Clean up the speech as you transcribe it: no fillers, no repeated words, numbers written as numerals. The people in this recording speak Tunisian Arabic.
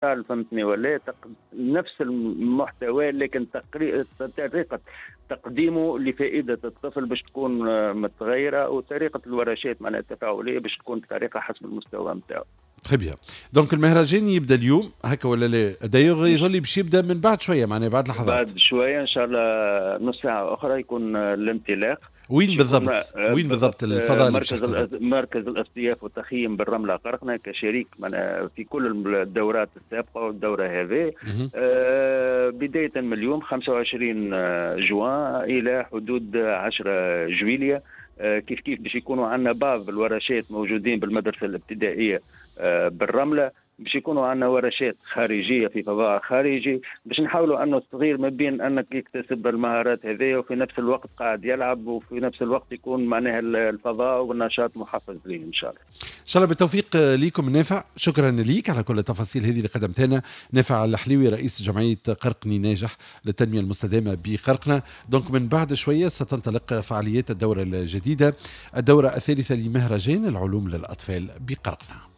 فهمتني ولا؟ نفس المحتوى، لكن طريقه تقديمه لفائدة الطفل باش تكون متغيره، وطريقه الورشات معناها التفاعليه باش تكون بطريقة حسب المستوى نتاعو. très bien، donc المهرجان يبدا اليوم هكا ولا لا؟ d'ailleurs يظل باش يبدا من بعد شويه، معناها بعد لحظات. بعد شويه، ان شاء الله نص ساعة اخرى يكون الانطلاق. وين بالضبط؟ وين بالضبط الفضاء؟ مركز الاصطياف والتخييم بالرمله قرقنه، كشريك في كل الدورات السابقة والدوره هذه. بداية من اليوم 25 جوان الى حدود 10 جويليا. كيف كيف باش يكونوا عندنا بعض الورشات موجودين بالمدرسة الابتدائية بالرمله، باش يكونوا عندنا ورشات خارجية في فضاء خارجي، باش نحاولوا انه الصغير ما بين انك يكتسب المهارات هذه وفي نفس الوقت قاعد يلعب، وفي نفس الوقت يكون معناها الفضاء والنشاط محفز ليه ان شاء الله. ان شاء الله بالتوفيق لكم. نافع، شكرا لك على كل التفاصيل هذه اللي قدمتها لنا. نافع الحليوي، رئيس جمعية قرقني ناجح للتنمية المستدامة بقرقنه. donc من بعد شوية ستنطلق فعاليات الدورة الجديده، الدورة الثالثة لمهرجان العلوم للاطفال بقرقنه.